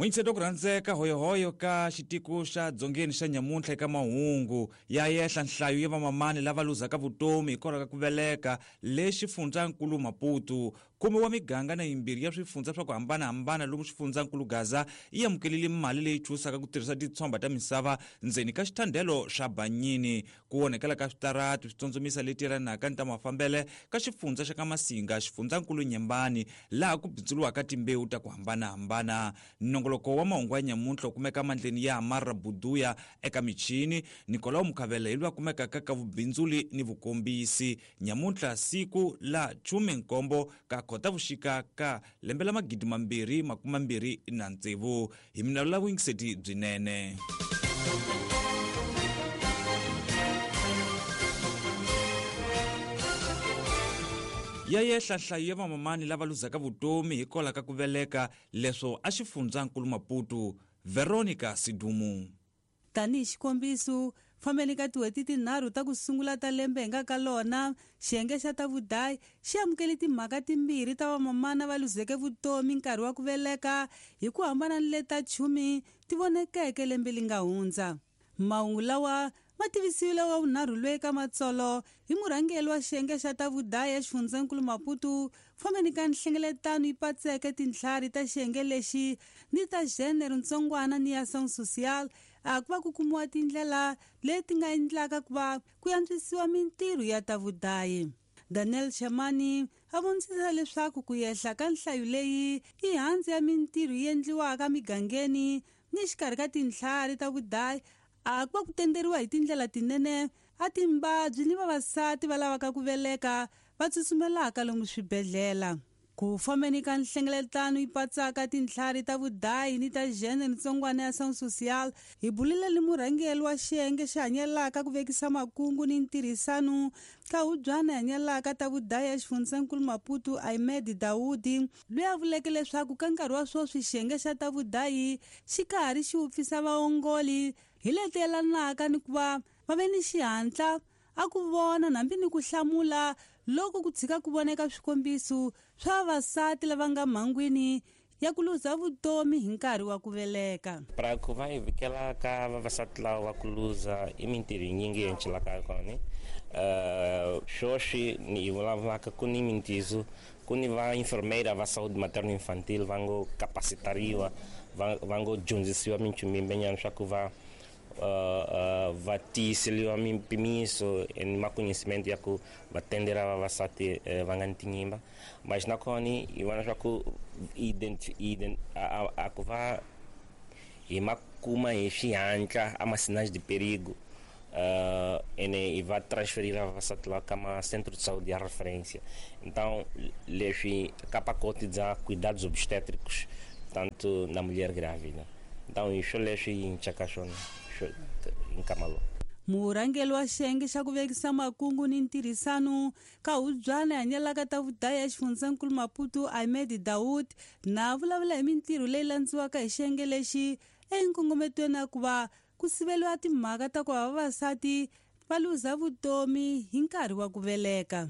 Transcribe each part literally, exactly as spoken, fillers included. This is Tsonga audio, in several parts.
Mwinyiseto ku rhandzeka hoyohoyo ka xitiko xa dzongeni xa nyamuntlha eka mahungu ya yehla nhlayo ya vamamani lava luzaka vutomi hikwalaho ka ku veleka le xifundzankulu Maputo. Khume wa miganga na yimbirhi ya swifundza swa ku hambanahambana lomu xifundzankulu Gaza yi amukelile mali leyi chusaka ku tirhisa titshomba ta misava ndzeni ka xithandelo xa Banyini. Ku onhekela ka switarati swi tsondzomisa leti yelanaka ni ta mafambele ka xifundza xa ka Masinga xifundzankulu Nyembani laha ku bindzuriwaka timbewu ta ku hambanahambana. Nongoloko wa mahungu ya nyamuntlha wu kumeka mandleni ya Amara Buduya eka michini Nicolau Mukhavela hi loyi a kumekaka ka vubindzuli ni vukombisi. Nyamuntlha siku la khume nkombo ka Khotavuxika ka lembe la magidi mambirhi makume mambirhi na tsevu. Hi mina la vuyingiseti byinene. Ya yehla nhlayo ya vamamani lava luzaka vutomi hikwalaho ka ku veleka leswo a xifundzankulu Maputo. Veronica Sidumu. Tanihi xikombiso, fambeni ka tin'hweti tinharhu ta ku sungula ta lembe hi nga ka lona, xiyenge xa ta vudayi xi amukele timhaka timbirhi ta vamamana va luzeke vutomi nkarhi wa ku veleka hi ku hambana ni leta chumi ti vonekeke lembe li nga hundza. Mahungu lawa ma tivisiwile wa vunharhu loyi ka matsolo hi murhangeri wa xiyenge xa ta vudayi exifundzenkulu Maputo fambeni ka nhlengeletano yi patseke tintlhari ta xiyenge lexi ni ta genre ntsongwana ni ya ação social a ku va ku kumiwa tindlela leti nga endlaka ku va ku antswisiwa mintirho ya ta vudayi. Daniel Chamani a vonisisa leswaku ku yehla ka nhlayo leyi i handzi ya mintirho yi endliwaka migangeni ni xikarhi ka tintlhari ta vudayi a ku va ku tenderiwa hi tindlela tinene a timbabyi ni vavasati va lavaka ku veleka va tsutsumelaka lomu swibedhlele. Ku fambeni ka nhlengeletano yi patsaka tintlhari ta vudayi ni ta genre ntsongwana ya ação social hi bulile ni murhangeri wa xiyenge xi hanyelaka ku vekisa makungu ni ntirhisano ka hubyana hanyelaka ta vudayi exifundzenkulu Maputo Ahmed Daudi loyi a vuleke leswaku ka nkarhi wa sweswi xiyenge xa ta vudayi xi karhi xi wupfisa vaongoli hi leti yelanaka ni ku va va ve ni xihatla a ku vona hambi ni ku hlamula loko ku tshika ku voneka swikombiso swa vavasati lava nga mhangwini ya ku luza vutomi hi nkarhi wa ku veleka. Para ku va hi vikela ka vavasati lava va ku luza i mintirho yinyingi yi cincelaka kona. Uh, sweswi ni hi vulavulaka ku ni mintizo ku ni va enfermeira va saúde materno infantil va ngo capacitariwa va va ngo dyondzisiwa minchumu yimbenyana swa ku va Uh, uh, va tiyiseliwa mimpimiso ni maconhecimento ya ku va tendera vavasati uh, va nga ni tinyimba. Mas nakona hi vona swa ku a, a, a ku va hi ma kuma hi xihatla a ma sinais de perigo uh, ene hi va transferir vavasati lava ka ma centro de saúde ya referência. Então leswi ka pacote bya cuidados obstétricos tanto na mulher grávida. Então hi swo leswi hi cincaka swona nkama lowu. Murhangeri wa xiyenge xa ku vekisa makungu ni ntirhisano ka hubyana hanyelaka ta vudayi exifundzenkulu Maputo Ahmed Daud na vulavula hi mintirho leyi landziwaka hi xiyenge lexi enkongometweni ya ku va ku siveliwa timhaka ta ku va vavasati va luza vutomi hi nkarhi wa ku veleka.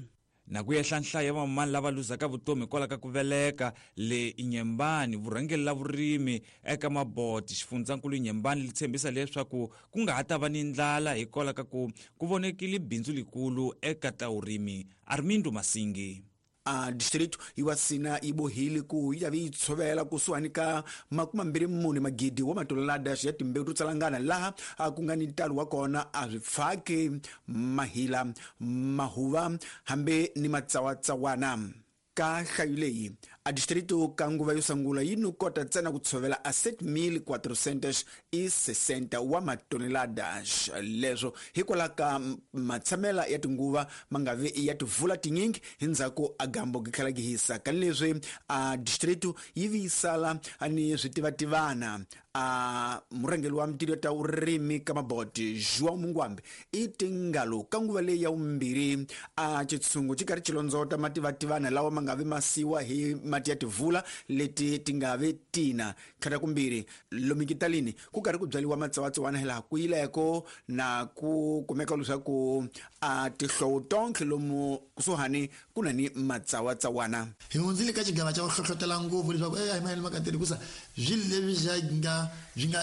Na ku yehla nhlayo ya vamamani lava luzaka vutomi hikwalaho ka ku veleka le Nyembani, vurhangeri la vurimi eka Maboti xifundzankulu Nyembani li tshembisa leswaku ku nga ha ta va ni ndlala hikwalaho ka ku ku vonekile bindzu likulu eka ta vurimi. Armindo Masingi. A distrito iwasina ibohile ku yi vi tshovela kusuhani ka makume mambirhi mune magidi wa matolelada ya timbewu to tsalangana laha a ku nga ni ntalo wa kona a swi pfaki mahila mahuva hambi ni matsawatsawana. Ka nhlayo leyi a distrito ka nguva yo sungula yi no kota ntsena ku tshovela a sete mil quatrocentos e sessenta wa matoneladas. Leswo hikwalaho ka matshamela ya tinguva ma nga vi ya tivula tinyingi hi ndzhaku a gambo gi tlhela gi hisa. Ka leswi a distrito yi vi sala ni switivativana a murhangeri wa mintirho ta vurimi ka Maboti João Mungwambe i tingalo ka nguva leyi ya vumbirhi a xitshungu xi karhi xi londzota mativativana lawa ma nga vi masiwa hi mati ya tivula leti ti nga ve tina tlhela kumbirhi lomikitalini ku karhi ku byaliwa matsawatsawana hilaha ku yileko na ku kumeka leswaku a tihlovo tonkhe lomu kusuhani ku na ni matsawatsawana. Hi hundzile ka xigava xa ku hlohlotela ngopfu leswaku e a hi mayelana makateri hikusa swilo leswi swi nga swi nga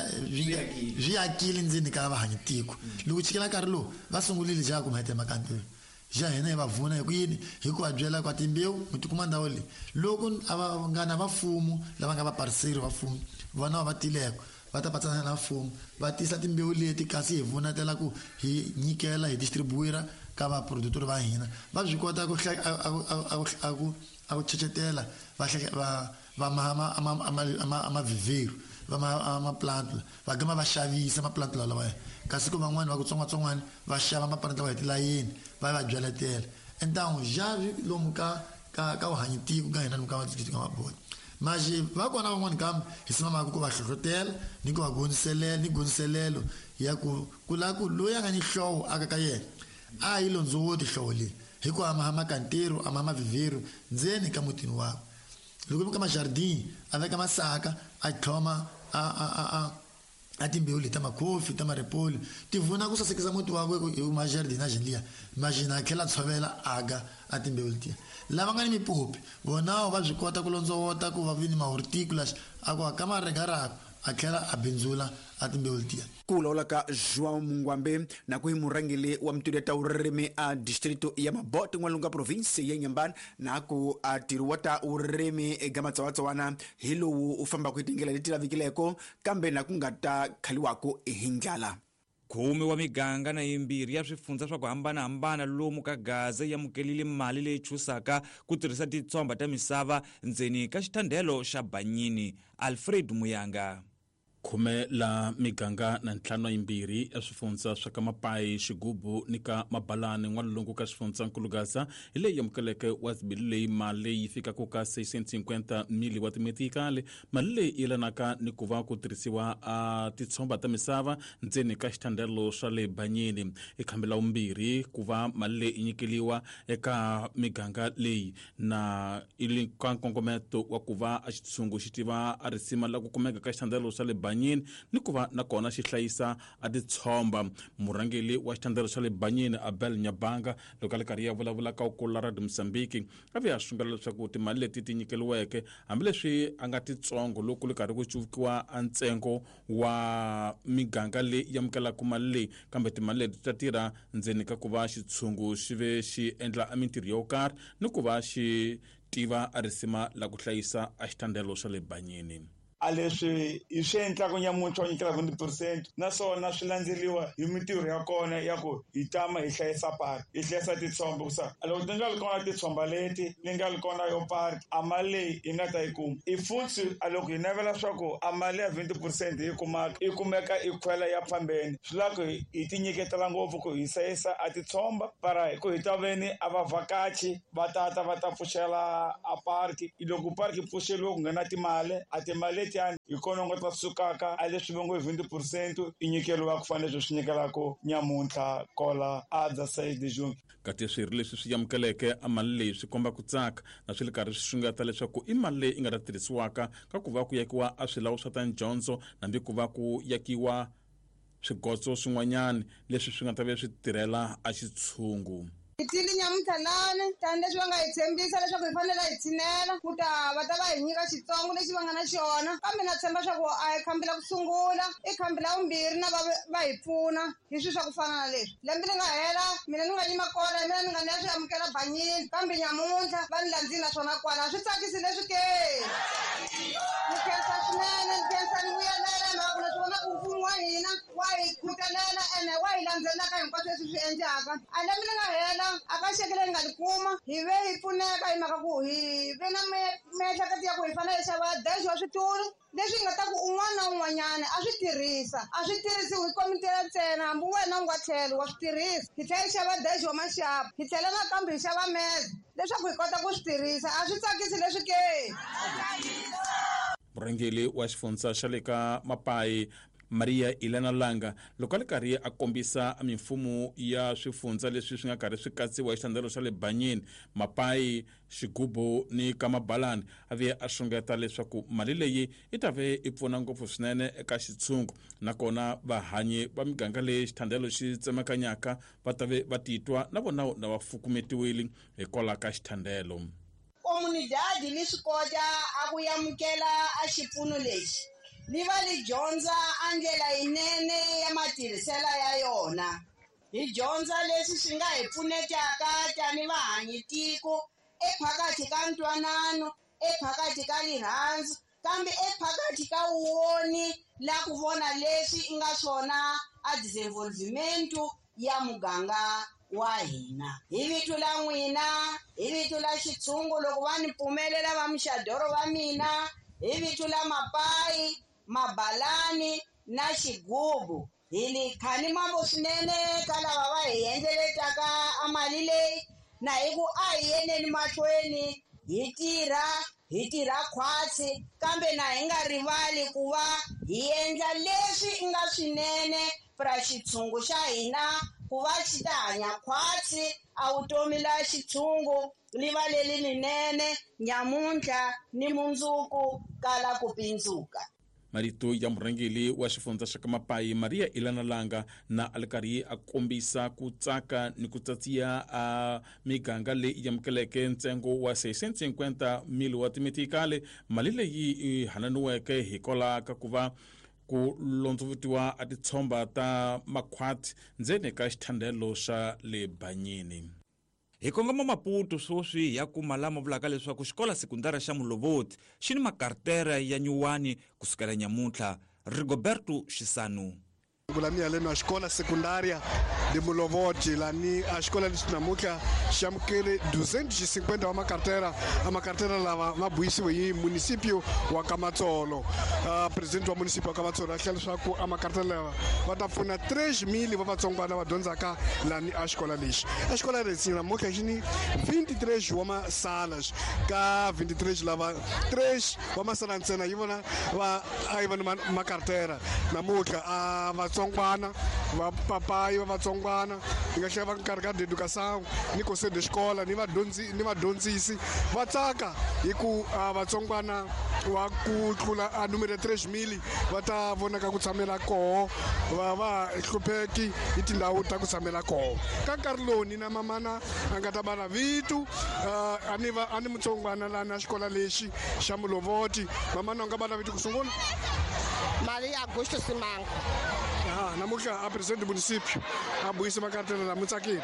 swi akile ndzeni ka vahanyitiko. Loko chikela nkarhi lowu va sungurile xa ku mahete makanteri xa hina hi va vuna hi ku yini hi ku va byela kwa timbewu mi tikuma ndhawu leyi loko a va nga na vafumo lava nga vapariseri va mfumo vona va tileko va ta patsana na mfumo va tisa timbewu leti kasi hi vunatela ku hi nyikela hi distribuira ka vaproductori va hina va swi kota ku a ku a ku chechetela va va va ma ma ma vivero va ma ma plant va gama va xavisa ma plant lawa kasi ku van'wani va ku tsongwatsongwana va xava ma plant lawa hi tilayini va va byaletela entangu javi lomu ka ka ka uhanyitiko ka hina lomu ka ka maboti maji va kona van'wani kambe hi simamaka ku va hlohlotela ni ku va goniselela ni goniselelo ya ku ku la ku loyi a nga ni hlovo aka ka yena a yi londzowoti hlovo leyi hi ku ama makantero ama mavivero ndzeni ka mutini wakwe loko mi ka majardin a veka masaka a tlhoma a a a a a timbewu leti ta makhofi ta maripoli ti vuna ku sasekisa muti wakwe hi majardin a xinliya majina a tlhela tshovela aga a timbewu letiya lava nga ni mipopi vonawo va swi kota ku londzowota ku va vi ni mahorticulars a ku aka maregarako a tlhela a bindzula a timbewu letiya. Ku vulavula ka João Mungwambe na ku hi murhangeri wa mitindo ya vurimi a distrito ya Mabote n'walungu ka province ya Inhambane na ku a ntirho wa ta vurimi eka matsawatsawana hi lowu u fambaka hi tindlela leti lavekileko kambe na ku nga ta khaliwaka hi ndlala. Khume wa miganga na yimbirhi ya swifundza swa ku hambanahambana lomu ka Gaza yi amukelile mali leyi chusaka ku tirhisa titshomba ta misava ndzeni ka xithandelo xa Banyini. Alfred Muyanga. Khume la miganga na ntlhanu yimbirhi ya swifundza swa ka Mapayi, Xigubu ni ka Mabalani n'walungu ka xifundzankulu Gaza hi leyi amukeleke wa zibili leyi mali yi fikaka ka seiscientos e cinquenta mili wa timetikali. Mali leyi yelanaka ni ku va ku tirhisiwa a titshomba ta misava ndzeni ka xithandelo swa le Banyini. I khambi la vumbirhi ku va mali leyi nyikeliwa eka miganga leyi na ili ka nkongometo wa ku va a xitshungu xi tiva a risima la ku kumeka ka xithandelo swa le Banyini ni ku va nakona xi hlayisa a titshomba. Murhangeri wa xithandelo xa le Banyini Abel Nyabanga loko a le karhi ya vulavula ka ukula Radio Mozambique a ve a sungula leswaku timali leti ti nyikeliweke hambileswi a nga titsongo loko le karhi ku cuvukiwa a ntsengo wa miganga leyi amukelaka mali leyi kambe timali leti ta tirha ndzeni ka ku va xitshungu xi ve xi endla a mintirho yo karhi ni ku va xi tiva a risima la ku hlayisa a xithandelo xa le Banyini. A leswi hi swi endlaka nyamuntlha wa nyikela twenty percent naswona swi landzeriwa hi mintirho ya kona ya ku hi tama hi hlayisa park hi hlayisa titshomba kusa loko ti nga ri kona titshomba leti ni nga ri kona yo park a mali leyi hi nga ta yi kuma i futhi a loko hi navela swa ku a mali ya twenty percent hi kumaka yi kumeka i khwela ya phambeni swi lava ku hi ti nyiketela ngopfu ku hi hlayisa a titshomba para ku hi ta veni a vavhakachi va tata va ta pfuxela a park loko park yi pfuxeliwe ku nghena timali a timali hi kona nga ta sukaka a leswi va ngo twenty percent i nyikeliwa ku fanele leswi swi nyikelaka nyamuntlha kola a dza seis de junho. Kati swirho leswi swi amukeleke a mali leyi swi komba ku tsaka na swi le karhi swi xungeta leswaku i mali leyi yi nga ta tirhisiwaka ka ku va ku yakiwa a swilawu swa ta dyondzo hambi ku va ku yakiwa swigotso swin'wanyana leswi swi nga ta ve swi tirhela a xitshungu. Hi tile nyamuntlha lani tanihileswi va nga hi tshembisa leswaku hi fanele hi tshinela ku ta va ta va hi nyika xitsongo lexi va nga na xona kambe na tshemba swa ku a hi khambi la ku sungula i khambi la vumbirhi na va va hi pfuna hi swilo swa ku fana na leswi. Lembe li nga hela mina ni nga yima kona mina ni nga ni ya swi amukela Banyini kambe nyamuntlha va ni landzile naswona kwala swi tsakisi leswi ke. Ni khensa swinene ni khensa ni vuyelela hi mhaka ku na swi vona ku mfumo wa hina wa hi khutelela ene wa hi landzelaka hinkwaswo leswi swi endlaka. A lembe li nga hela a ka xeke leyi nga li kuma hi ve hi pfuneka hi mhaka ku hi ve na miehleketo ya ku hi fanele hi xava dash wa switulu leswi nga ta ku un'wana na un'wanyana a swi tirhisa a swi tirhisiwi hi komitela ntsena hambi wena u nga tlhelo wa swi tirhisa. Hi tlhela hi xava dash wa maxapu hi tlhela nakambe hi xava meze leswaku hi kota ku swi tirhisa a swi tsakisi leswi ke. Murhangeri wa xifundza xa le ka Mapayi Maria Elena Langa loko a ri karhi a kombisa mimfumo ya swifundza leswi swi nga karhi swi katsiwa hi xithandelo xa le Banyini, Mapai, Xigubu ni Kamabalani, a vuye a xungeta leswaku mali leyi yi ta ve yi pfuna ngopfu swinene eka xitshungu, nakona vahanyi va miganga leyi xithandelo xi tsemakanyaka va ta ve va titwa na vona na va fukumetiwile hikwalaho ka xithandelo. Comunidade li swi kota a ku amukela a xipfuno lexi li va li dyondza a ndlela yinene ya matirhiselo ya yona. Hi dyondza leswi swi nga hi pfunetaka tani vahanyi tiko ephakathi ka ntwanano, ephakathi ka rirhandzu, kambe ephakathi ka woni la ku vona leswi i nga swona a desenvolvimento ya muganga wa hina. Hi vito la n'wina, hi vito la xitshungu loko va ni pfumelela va mixadoro va mina, hi vito la Mapai, Mabalani na Xigubu, hi li khani mambo swinene ka lava va hi endleletaka a mali leyi, na hi ku a hi yeneni mahlweni hi tirha, hi tirha khwatsi, kambe na hi nga rivali ku va hi endla leswi i nga swinene pra xitshungu xa hina ku va xi ta hanya khwatsi a vutomi la xitshungu li va leli linene nyamuntlha ni mundzuku kala ku pindzuka. Marito ya murhangeri wa xifundza xa ka Mapai Maria Elena Langa na a ri karhi a kombisa ku tsaka ni ku tsatsiya a miganga leyi amukeleke ntsengo wa seiscentos e cinquenta mil wa timetikale, mali leyi yi hananiweke hikwalaho ka ku va ku londzovutiwa a titshomba ta makhwati ndzeni ka xithandelo xa le Banyini. Hi kongoma Maputo sweswi ya kuma lama vulaka leswaku xikola sekundara xa Mulovoti xi ni makartera ya nyuwani kusukela nyamuntlha. Rigoberto Xisanu. Lani na escola secundária de Mulovoti, lani a escola de namuntlha xi amukele duzentos e cinquenta wa macarteira, a macarteira lava ma buyisiwe hi município wa Kamatsolo. Uh, presidente wa município wa Kamatsolo a hlela leswaku a macarteira lava va ta pfuna três mil va vatsongwana va dyondzaka lani a xikola lexi. A xikola lexi namuntlha xi ni vinte e três wa masalas, ka vinte e três lava três wa masala ntsena yi vona va a yi va ni macarteira namuntlha a vatsongwana va papai va vatsongwana hi nga tlhela va nkarhi ka educação ni conselho de escola ni vadyondzi ni vadyondzisi va tsaka hi ku vatsongwana wa ku tlula a numero três mil va ta vonaka ku tshamela koho va va hlupheki hi tindhawu ta ku tshamela koho. Ka nkarhi lowu ni na mamana a nga ta va na vito a ni va a ni mutsongwana lana xikola lexi xa Mulovoti, mamana a nga va na vito ku sungula Maria Augusto Simango. Ah, namuntlha a presidente do município a buyisa makartela lama tsakile.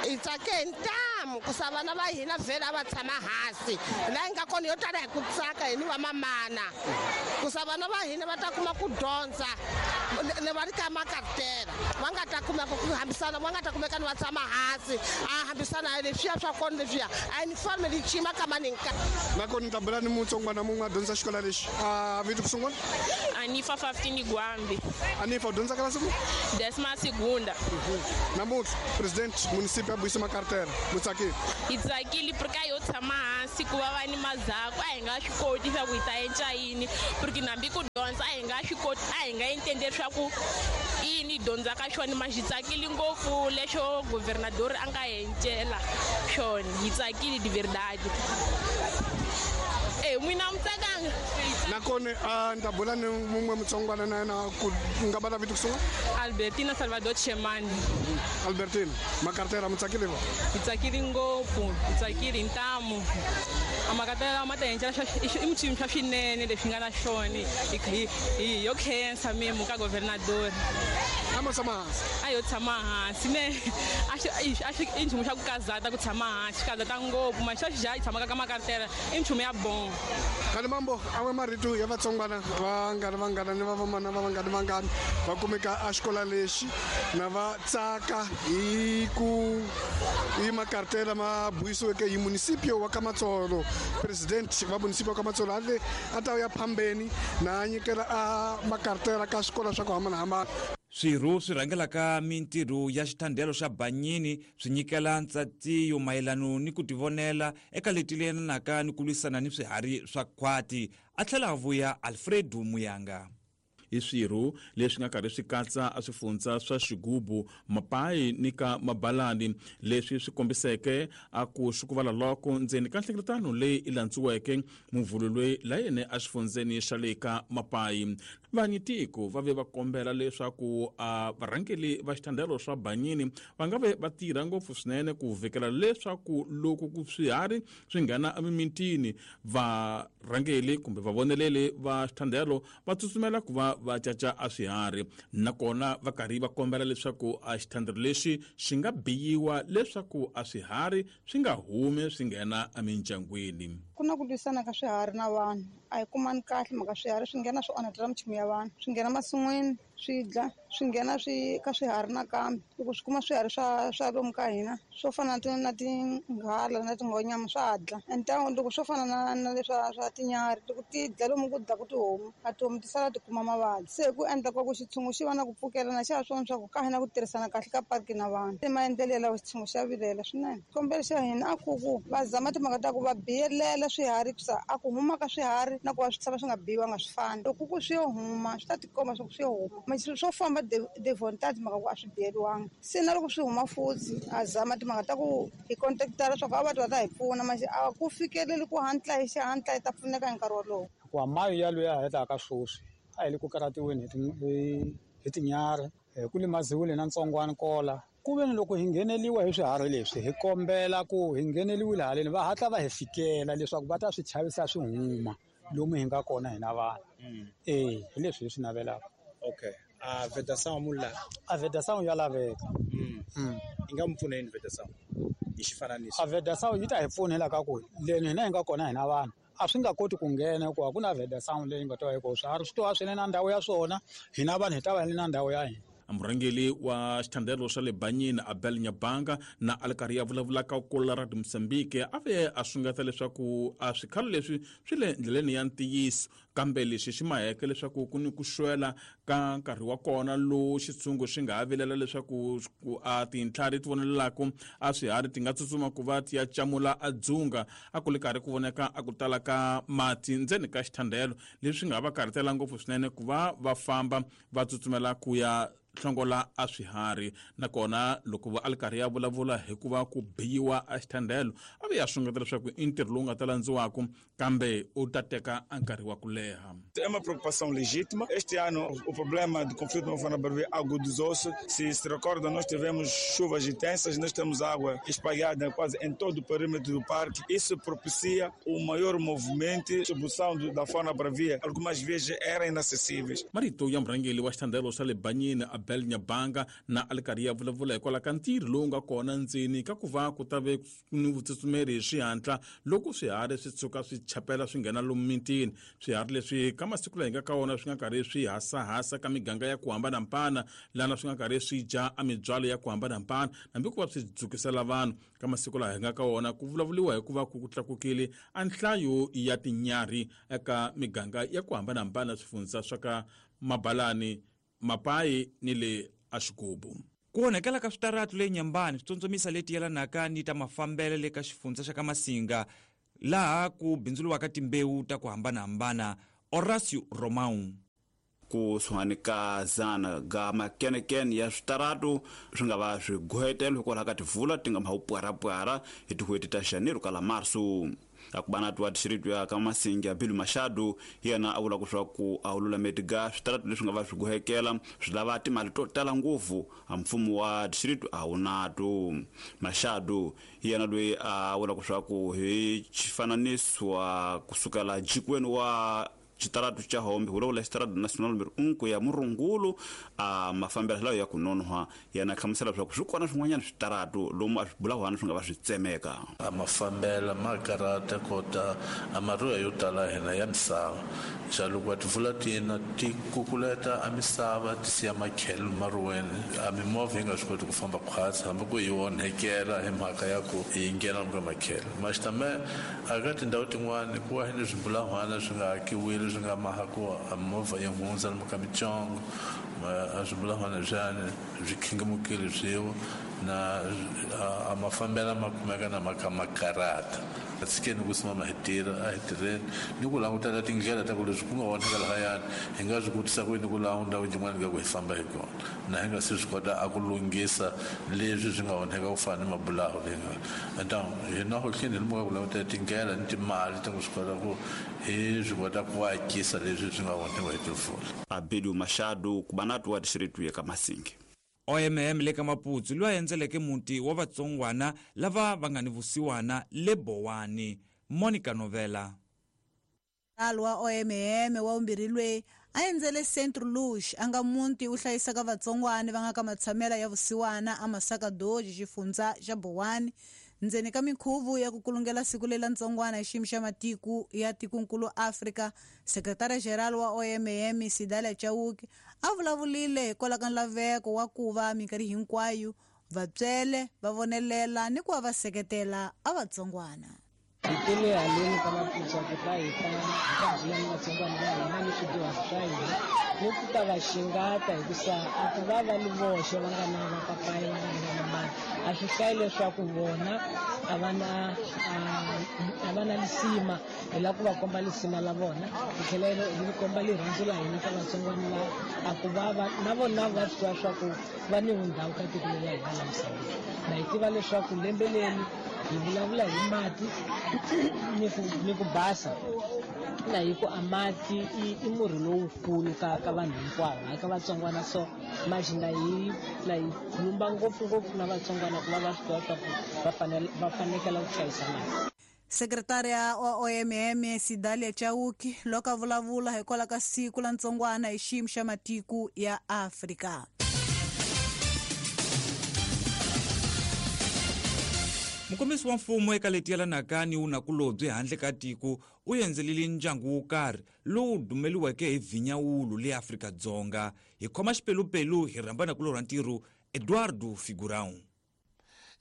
Hi tsake hi ntamu ku sa vana va hina vhele a va tshama hansi laha hi nga kona yo tala hi ku tsaka hi ni va mamana ku sa vana va hina va ta kuma ku dyondza ne va ri ka makartela va nga ta kumeka ku hambisana va nga ta kumeka ni va tshama hansi a hambisana hi leswiya swa kona leswiya a uniforme li cima ka maninka. Nakona ni ta bula ni mutsongwana mun'we a dyondza xikola lexi a vito ku sungula Anifa Faftini Gwambi. Anifa u dyondza ka siku décima segunda. Namuntlha presidente município a buyisa makartela mutsakile. Hi tsakile porque a yo tshama hansi ku va va ni mazako a hi nga swi koti swa ku hi ta endla yini porque nambi ku dyondza a hi nga swi koti a hi nga entenderi swa ku yini hi dyondzaka xona ma hi tsakile ngopfu lexo governador a nga encela xona hi tsakile de verdade. Eh n'wina mi tsakanga. Nakona a ni ta bula ni mun'we mutsongwana na yena ku nga va na vito ku sungula Albertina Salvador Chemani. Albertina, makartela mi tsakile va? Hi tsakile ngopfu, hi tsakile ntamu. A makartela ma ta endla i minchumu swa swinene leswi nga na xona hi yo khensa memo ka governador. A mo tshama hansi? A yo tshama hansi ne a xi a xi i nchumu xa ku kazata ku tshama hansi, xi kazata ngopfu ma xa xi ja hi tshamaka ka makartela i nchumu ya bon. Khale mambo a we marito ya vatsongwana va nga ri vangana ni va vamana va vangani vangani va kumeka a xikola lexi na va tsaka hi ku hi makartela ma buyisiweke hi município wa Kamatsolo. President va município wa Kamatsolo a le a ta ya phambeni na nyikela a makartela ka swikolo swa ku hambanahambana. Swirho swi rhangelaka mintirho ya xithandelo xa Banyini swi nyikela ntsatiyo mayelano ni ku tivonela eka leti lelanaka ni ku lwisana ni swiharhi swa khwati, a tlhela a vuya Alfredo Muyanga. I swirho leswi nga karhi swi katsa a swifundza swa Xigubu, Mapai ni ka Mabalani, leswi swi kombiseke a ku xukuvala loko ndzeni ka nhlengeletano leyi i landziweke muvhulu loyi la yene a xifundzeni xa le ka Mapai. Vanyitiko va ve va kombela leswaku a varhangeli va xithandelo swa Banyini va nga ve va tirha ngopfu swinene ku vhikela leswaku loko ku swiharhi swi nghena emimitini varhangeli kumbe vavoneleli va xithandelo va tsutsumela ku va va caca a swiharhi, nakona va karhi va kombela leswaku a xithandelo lexi xi nga biyiwa leswaku a swiharhi swi nga humi swi nghena emindyangwini. Ku na ku lwisana ka swiharhi na vanhu, a hi kumani kahle mhaka swiharhi swi nghena swi onhetela minchumu ya vanhu, swi nghena masin'wini swi dla, swi nghena swi ka swiharhi nakambe. Loko swi kuma swiharhi swa swa lomu ka hina swo fana na na tinghala na tinghonyama swa dla. And loko swo fana na na leswa swa tinyarhi loko ti dla lomu ku dlaku tihomu, a tihomu ti sala ti kuma mavabyi. Se ku endla kwa ku xitshungu xi va na ku pfukelana xa swona swa ku ka hina ku tirhisana kahle ka parki na vanhu. Se maendlelo lawa xitshungu xa vilela swinene. Xikombelo xa hina a ku ku va zama timhaka ta ku va biyelela swiharhi ku a ku huma ka swiharhi na ku va swi tshama swi nga biyiwanga swi fani. Loko ku swi yo huma swi ta tikomba swa ku swi yo huma, swo famba de volonté mhaka ku a swi biyeliwanga. Se na loko swi huma futhi a zama timhaka ta ku hi contactara swa ku a va ta hi pfuna, manje a ku fikeleli ku hatla hi xihatla hi ta pfuneka hi nkarhi wolowo. Hikuva mayo ya luya hetaka sweswi a hi le ku karhatiweni hi hi tinyarhi, ku limaziwile na ntsongwana kola. Ku ve ni loko hi ngheneliwa hi swiharhi leswi hi kombela ku hi ngheneliwile haleni va hatla va hi fikela leswaku va ta swi chavisa swi huma lomu hi nga kona hina vanhu. Eh, hi leswi hi swi navelaka. Okay. A vedação mula. A vedação ya laveka. Mm. Mm. Yi nga mi pfuna yini vedação? Hi xifananiso. A vedação yi ta hi pfunela ka ku leni hina hi nga kona hina vanhu a swi nga koti ku nghena hikuva ku na vedação leyi nga ta va yi kona. Swiharhi swi to va swi ri na ndhawu ya swona, hina vanhu hi ta va hi ri na ndhawu ya hina. Murhangeli wa xithandelo xa le Banyini Abel Nyabanga na a li karhi ya vulavulaka kula ra Mozambique a ve a sungata leswaku a swikhalo leswi swi le ndleleni ya ntiyiso, kambe lexi xi maheke leswaku ku ni ku xwela ka nkarhi wa kona lowu xitshungu xi nga ha vilela leswaku a tintlhari ti vonelelaka a swiharhi ti nga tsutsuma ku va ti ya camula a dzunga. A ku li karhi ku voneka a ku tala ka mati ndzeni ka xithandelo, leswi nga va karhatela ngopfu swinene ku va va famba va tsutsumela ku ya hlongola a swiharhi. Nakona loko va a li karhi ya vulavula hikuva ku biyiwa a xithandelo a ve ya sungeta leswaku i ntirho lowu nga ta landziwaka kambe u ta teka a nkarhi wa ku leha. É uma preocupação legítima. Este ano o problema do conflito não foi na Barbeira agudizou-se. Se se recorda, nós tivemos chuvas intensas, nós temos água espalhada quase em todo o perímetro do parque. Isso propicia o maior movimento, distribuição da fauna bravia. Algumas vezes eram inacessíveis. Marito ya murhangeli wa xithandelo xa le Banyini Abel Nyabanga na a li karhi ya vulavula hikwalaho ka ntirho lowu nga kona ndzeni ka ku va ku ta ve ni vutsutsumeri hi xihatla loko swiharhi swi tshuka swi chapela swi nghena lomu mitini. Swiharhi leswi ka masiku laha hi nga ka wona swi nga karhi swi hasahasa ka miganga ya ku hambanahambana, lana swi nga karhi swi dya a mibyalo ya ku hambanahambana hambi ku va swi dzukisela vanhu. Ka masiku laha hi nga ka wona ku vulavuriwa hikuva ku tlakukile a nhlayo ya tinyarhi eka miganga ya ku hambanahambana swifundza swa ka Mabalani, Mapai ni le Axigubu. Ku onhakela ka switaratu le Nyambani swi tsondzomisa leti yelanaka ni ta mafambelo le ka xifundza xa ka Masinga, laha ku bindzuriwaka timbewu ta ku hambanahambana. Horacio Romão. Kusuhani ka zana ga makenekene ya switaratu swi nga va swi gohetelo hikwalaho ka tivula ti nga mhawupwarapwara hi tin'hweti ta Janeiro kala Marso. Akubana wa distrito ya ka Masinga Bill Machado yena a vula ku swa ku a lulameti ga switaratu leswi nga va swi gohekela swi lava timali to tala ngopfu a mfumo wa distrito a wu nato. Machado yena loyi a vula ku swa ku hi xifananiso kusukela jikweni wa xitaratu xa Hombe vulavula xitaratu national number un ku ya Murungulu a mafambelo lawa ya ku nonoha yana hlamusela leswaku swi kona swin'wanyana switaratu lomu a swi bulahwana swi nga va swi tsemeka. A mafambelo ma karata kota a maruya yo tala hina ya misava xa loko va tivula tina ti kukuleta a misava ti siya makhelo maruweni a mimovha yi nga swi koti ku famba khwatsi hambi ku yi onhekela hi mhaka ya ku yi nghena ka makhelo maxitame a ka tindhawu tin'wani ku va ni swibulahwana swi nga hakiwile swi nga maha ku a movha yi hundza lomu ka mitsongo a swibulahwana leswiyani swi khingemukile swiwo na a mafambelo ma kumeka na maka makarata A tshikeni ku simama hi tirha a hi tirheni ni ku langutela tindlela ta ku leswi ku nga onhaka lahayani hi nga swi kotisa ku yini ku laha ndhawu yin'wana ka ku hi famba hi kona na hi nga se swi kota a ku lunghisa leswi swi nga onheka ku fana ni mabulaho leyi nga então hina hohleni hi muka ku langutela tindlela ni timali ta ku swi kota ku hi swi kota ku akisa leswi swi nga onhiwa hi timpfula. Abedu Machado kubanatu wa distritu ya Kamasingi. O M M le ka Maputsu loyi a endzeleke muti wa vatsongwana lava va nga ni vusiwana le Bowani. Monica Novela. Alwa O M M wa vumbirhi loyi a endzele Centro Luz a nga muti wu hlayisaka vatsongwana va nga ka matshamela ya vusiwana a Masaka Doji xifundza xa Bowani ndzeni ka minkhuvo ya ku kulungela siku lela ntsongwana hi xiyimo xa matiko ya tikonkulu Afrika. Sekretara General wa O M M Sidalia Chauke a vulavulile hikwalaho ka nlaveko wa ku va minkarhi hinkwayo vatswele va vonelela ni ku va va seketela a vatsongwana. Hi tele haleni ka Maputsu ku ta hi ta hi ta bula ni vatsongwana va hina ni swidyuhari swa hina ni ku ta va xingata hikusa a ku va va li voxe va nga na vapapayi va nga na vamamani a swi hlayi leswaku vona a va na a va na lisima hi lava ku va komba lisima la vona hi tlhela hi komba rirhandzu la hina ka vatsongwana lava a ku va va na vona va swi tiva swa ku va ni vundhawu ka tiko leri la hina la misaveni na hi tiva leswaku lembe leri hi vulavula hi mati ni ku ni ku basa na hi ku a mati i i murhi lowukulu ka ka vanhu hinkwavo hayi ka vatsongwana so manje na hi na hi khulumba ngopfungopfu na vatsongwana ku va va swi tiva swa ku va fanele va fanekela ku hlayisa mati. Sekretariya wa O M M Sidalia Chauke loko a vulavula hikwalaho ka siku la ntsongwana hi xiyimo xa matiko ya Afrika. Mukombisi wa mfumo eka leti yelanaka ni vunakulobye handle ka tiko u endzelile ndyangu wo karhi lowu dumeliweke hi vhinyawulu le Afrika-Dzonga. Hi khoma xipelupelu hi rhamba nakulorha ntirho Eduardo Figurão.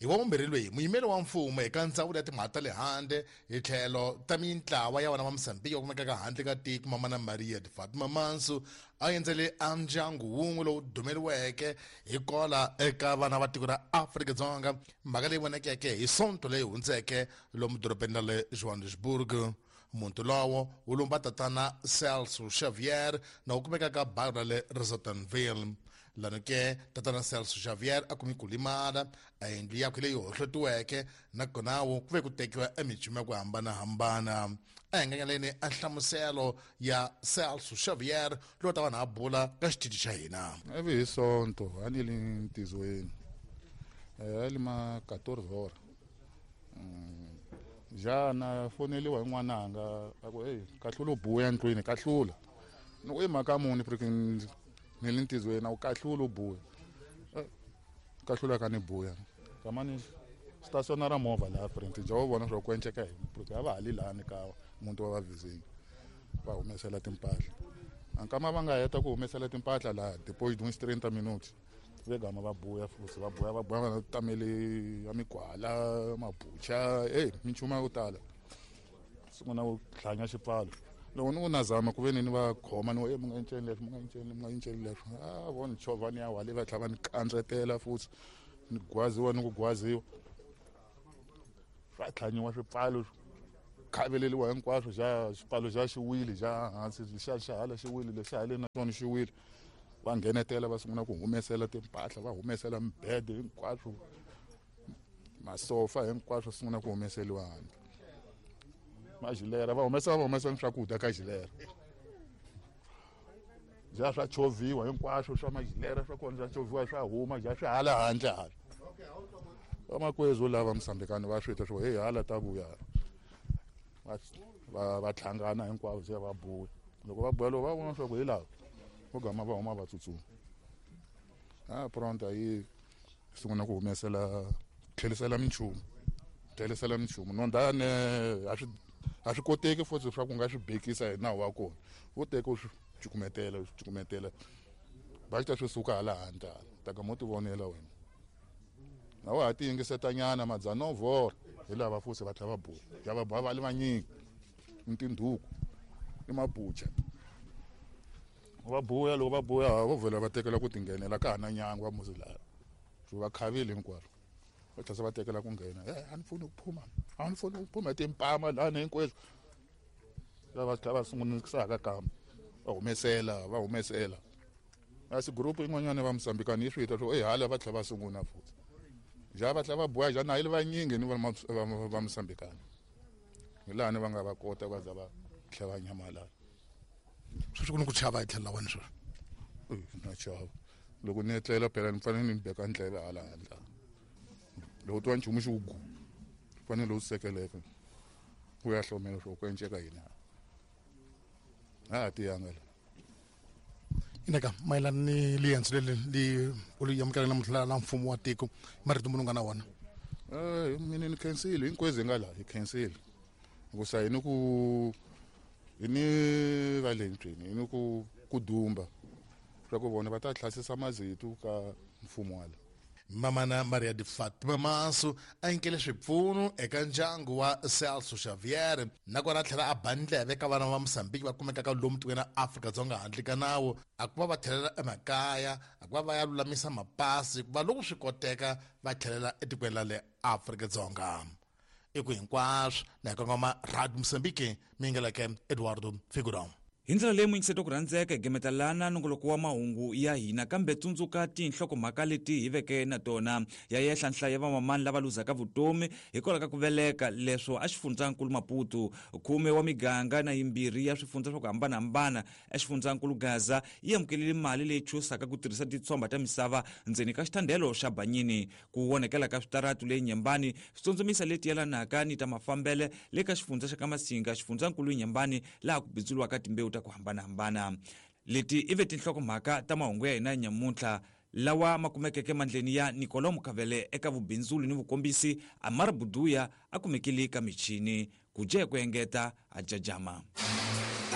Hi wa vumbirhi loyi muyimeri wa mfumo eka ndzawulo ya timhaka ta le handle hi tlhelo ta mintlawa ya vana va Mozambique va kumekaka handle ka tiko Mamana Maria de Fatima Manso a endzele a ndyangu wun'we lowu dumeliweke hi kola eka vana va tiko ra Afrika-Dzonga mhaka leyi vonekeke hi sonto leyi hundzeke lomu dorobeni ra le Johannesburg. Muntu lowo wu lumba tatana Celso Xavier na wu kumekaka ka baru ra le Rosettenville. Lano ke tatana Celso Xavier a kumi ku limala a yindlu yakwe leyi hohlotiweke nakona wo ku ve ku tekiwa emichumu ya ku hambanahambana. A hi nganyaleni a nhlamuselo ya Celso Xavier lowu ta vanhu a bula ka xitichi xa hina. Ivi hi sonto a ni li ntizweni a li ma quatorze hora jana foneliwa hi n'wananga a ku hey kahlula u buya ndlwini kahlula ni ku i mhaka muni porque ni le ntizweni a wu kahlula u buya kahlula ka ni buya kamani stationa ra movha laha front ja wu vona swa ku enceka hi porque a va ha li lani ka muti wa vavhizini va humesela timpahla ankama va nga heta ku humesela timpahla laha depois de uns trinta minutos ve gama va buya futhi va buya va buya va tamele ya migwala mabucha hey minchumu ya ku tala sungula ku hlanya xipfalo loko ni ku nazama ku ve ni ni va khoma ni mi nga enceni leswi mi nga enceni mi nga enceni leswi a vo ni chovha ni ya wale va tlhela va ni kandzetela futhi ni gwaziwa ni ku gwaziwa swa tlhanyiwa swipfalo khaveleliwa hinkwaswo xa xipfalo xa xi wile xa hansi xa xa hala xi wile lexa haleni na xona xi wile va nghenetela va sungula ku humesela timpahla va humesela mibede hinkwaswo masofa hinkwaswo sungula ku humeseliwa handle majilera va humesa va humesa swakudya ka jilera ja swa chovhiwa hinkwaswo swa majilera swa kona swa chovhiwa swa huma ja swi hala handle hala vamakwezu lava Mozambikani va swi twa swo hey hala ta vuya va va va tlhangana hinkwavo se va buya loko va buya loko va vona swa ku hi lava vo gama va huma va tsutsuma a pronto yi sungula ku humesela tlhelisela minchumu tlhelisela minchumu nondane a swi a swi koteki futhi swa ku nga swi bekisa hi nawu wa kona wo teka u swi cukumetela u swi cukumetela va ta swi suka hala handle ta ka mo ti vonela wena na wa ha ti yingisetanyana madzanovhora hi lava futhi va tlhela va buya ya va buya va li vanyingi ni tindhuku ni mabucha va buya loko va buya vo vhela va tekela ku tinghenela ka ha na nyangwa muzi laha swi va khavile hinkwaswo Va tlhela va tekela ku nghena eh a ni funi ku phuma a ni funi ku phuma timpama lani hinkweswo lava tlhela va sungunisaka kambe va humesela va humesela asi group yin'wanyana va Mozambikani yi swi ta swo eh hala va tlhela va sunguna futhi ja va tlhela va boya ja na yi va nyingi ni va va Mozambikani hi laha ni va nga va kota va za va tlhela va nyamalala sweswi ku ni ku chava hi tlhelo la wena sweswi na chava loko ni etlela phela ni fanele ni beka ndleve hala handle loko twa nchumu xi gu fanele u sekeleka u ya hlomela swo ku enceka yini a tiyanga la ineka mayelana ni liendzo leri li u li amukelaka namuntlha la mfumo wa tiko marito munhu nga na wona eh mina ni khensile hinkwezi nga la hi khensile hikusa hi ni ku hi ni va le ndlwini hi ni ku ku dumba swa ku vona va ta hlasisa mazitu ka mfumo wala Mamana Maria de Fatima Manso a nyikele swipfuno eka ndyangu wa Celso Xavier nakona a tlhela a ba ndleve ka vana va Mozambique va kumekaka lomu tikweni ra Afrika-Dzonga handle ka nawu a ku va va tlhelela emakaya a ku va va ya lulamisa mapasi ku va loko swi koteka va tlhelela etikweni ra le Afrika-Dzonga i ku hinkwaswo na hi kongoma Radio Mozambique mi yingeleke Eduardo Figurão. Hi ndlela leyi muyingiseti ku rhandzeka hi gemeta lana nongoloko wa mahungu ya hina kambe tsundzuka tinhlokomhaka leti hi veke na tona ya yehla nhlayo ya vamamani lava luzaka vutomi hikwalaho ka ku veleka leswo a xifundzankulu Maputo khume wa miganga na yimbirhi ya swifundza swa ku hambanahambana exifundzankulu Gaza yi amukelile mali leyi chusaka ku tirhisa titshomba ta misava ndzeni ka xithandelo xa Banyini ku onhekela ka switaratu leyi Nyembani switsondzomisa leti yelanaka ni ta mafambele le ka xifundza xa ka Masinga xifundzankulu Nyembani laha ku bindzuriwaka timbewu ta ku hambanahambana leti i ve tinhlokomhaka ta mahungu ya hina nyamuntlha lawa ma kumekeke mandleni ya Nicolau Mukavele eka vubindzuli ni vukombisi Amara Buduya a kumekile ka michini ku dya hi ku engeta a jajama.